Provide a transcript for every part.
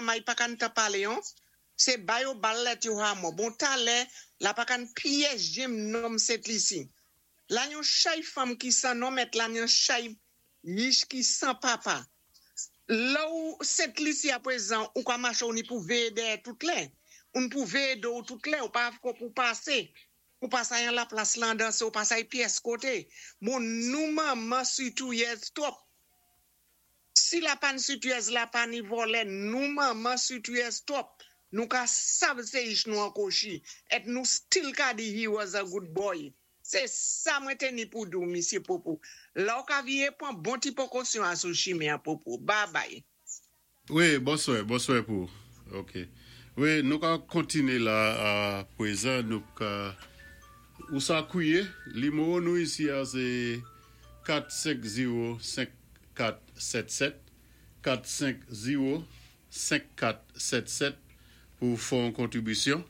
Manmay pa kann tan palé an, sé ba yo bal lèt yo hamò. Bon talè, la pa kann pyès jenm nonm Sent Lisi. La yon chay fanm ki san nonm èt la yon chay yich ki san papa. Lè ou Sent Lisi apwézan, ou ka maché ou ni pou véyé dèyè tout lè. Ou ni pou véyé do ou tout lè, ou pa ko pou pasé. Ou pa sa yon la plas lan danse, ou pa sa yon pyès koté. Bon, nou manman sitouyèz twòp. Si la pa ni sitouyèz, la pa ni vòlè, nou manman sitouyèz twòp. Nou ka sav sé yich nou an kwochi. Èt nou still ka di he was a good boy. Sé sa mwen té ni pou di ou, Misyé Popo. La ou ka viwé pwan bon ti pwékosyon a sou chimen an, Popo. Bye bye. Wi, bonswè, bonswè pou. OK. Wi, nou ka kontiné la a pwézan nou ka ou sa kwié, nimewo nou isi a sé 450 5477, 450 5477 pou fè yon kontribisyon.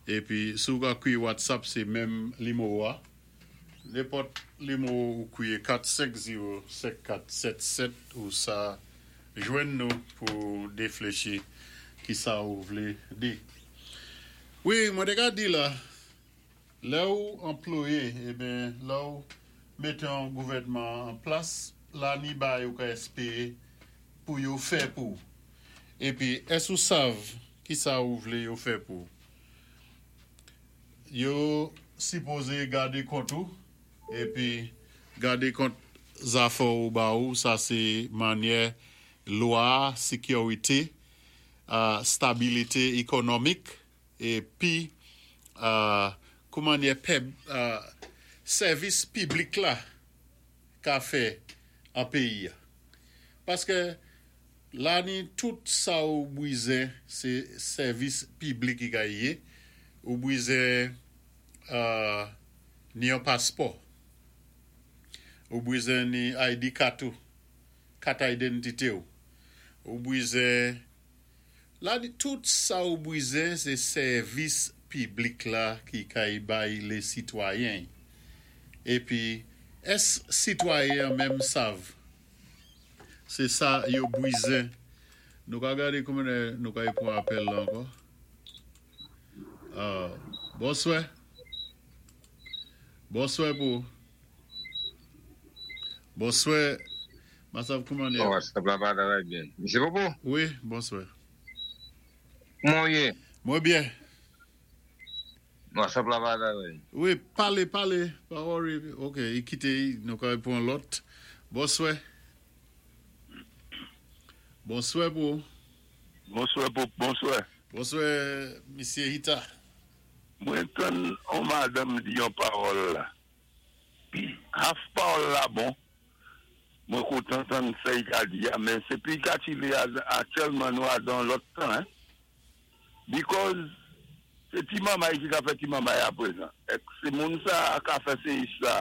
Épi si ou ka kwié WhatsApp, sé menm nimewo a. Nenpòt nimewo ou kwié 450 5477 ou sa jwenn nou pou défléchi ki sa ou vlé di. Wi, mwen té ka di la, lè ou anplwayé, eben, lè ou mété yon gouvèdman an plas, la ni bay ou ka èspéwé pou yo fè pou. Épi, ès ou sav ki sa ou vlé yo fè pou? Yo sipozé gadé kont ou, épi gadé kont zafè ou ba ou, sa sé mannyè lwa, sékirité, stabilité ékonomik, épi koumannyè pèb, sèvis piblik la ka fè an péyi. Paské la ni tout sa ou bwizen sé sèvis piblik ki ka yé, ou bwizen ni yon paspò, ou bwizen ni ID kat ou, kat idantité ou, ou bwizen la ni tout sa ou bwizen sé sèvis piblik la ki kay bay lé sitwayen. Épi ès sitwayen menm sav sé sa yo bwizen? Nou ka gadé kouman nou ka y pwan apèl la ankò. Bonswè. Bonswè pou. Bonswè. M pa sav kouman Bon, sa va travay byen. Misyé Popo? Wi, bonswè. Kouman yé? Mwen byen. Bon, sa va travay. Wi, palé, palé. Pa worry. OK, i kité, nou ka pwan lòt. Bonswè. Bonswè pou. Bonswè pou, bonswè. Bonswè, Misyé Hita. Mwen tann on madanm di yon pawòl la. Half pawòl la bon. Mwen kontan tann sa i ka di a, men sé pi katile aktyèlman nou a dan lòt tan, hein. Because sé ti manmay ki ka fè ti manmay apwézan. Èk sé moun sa ka fè sé sa.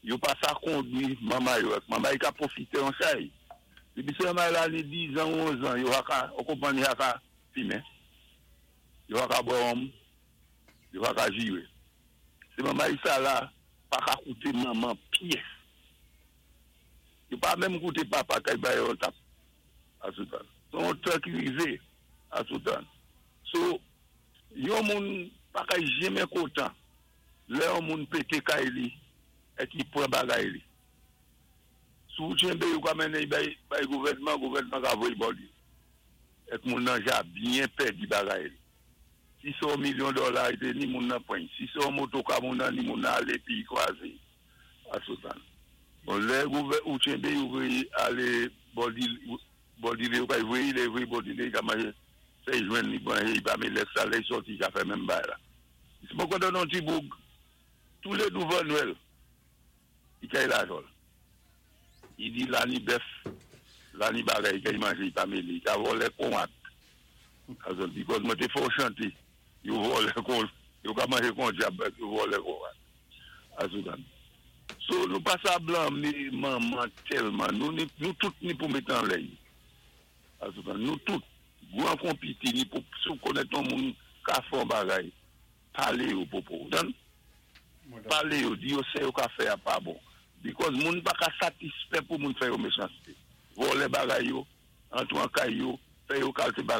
Yo pa sa kondwi manmay yo. Èk manmay ka pwofité an chay. Dépi sé manmay la ni 10 an ou 11 an, yo ka, ou konpwann yo ka fimen. Yo ka bwè wonm, yo ka jiwé. Sé manmay sa la pa ka kouté manman pyès. Yo pa menm kouté papa kay bay yon tap asoutan. Son tan ki rivé asoutan. So, yon moun pa ka jenmen kontan lè yon moun pété kay li é ki pwan bagay li. Sou tjenbé yo ka mennen bay, bay gouvèdman, gouvèdman ka voyé bò li. Èk moun nan ja byen pèdi bagay li. Si sé yon milyon dola i té ni moun nan pwan. Si sé yon motoka moun nan ni moun nan alé pi kwazé asoutan. Bon, lè gouvè ou tjenbé yo voyé alé bò di bò dilé yo ka voyé, lè voyé bò dilé, i ka manjé fè jwenn li manje, i pa mélé sa lè sòti i ka fè menm bagay la. Si mwen kontan yon ti boug, tou lé douvan Nwèl, i kay lajan. I di la ni bèf, la ni bagay, i kay manje, i pa mélé, i ka vòlè kon rat. Because mwen té fò chanté, yo vòlè kon, yo ka manje kon dyab, yo vòlè kon rat. Asoutan. So nou pa sa blanmé manman tèlman, nou, nou tout ni pou mété an lèy. Asoutan. Nou tout, gwan kon piti, ni pou, si ou konnèt yon moun ka fè yon bagay, palé yo Popo, dan? Palé yo, di yo sé yo ka fè a pa bon. Because moun pa ka satisfè pou moun fè yo méchansté. Vòlè bagay yo, antwan kay yo, fè yo kalté bagay.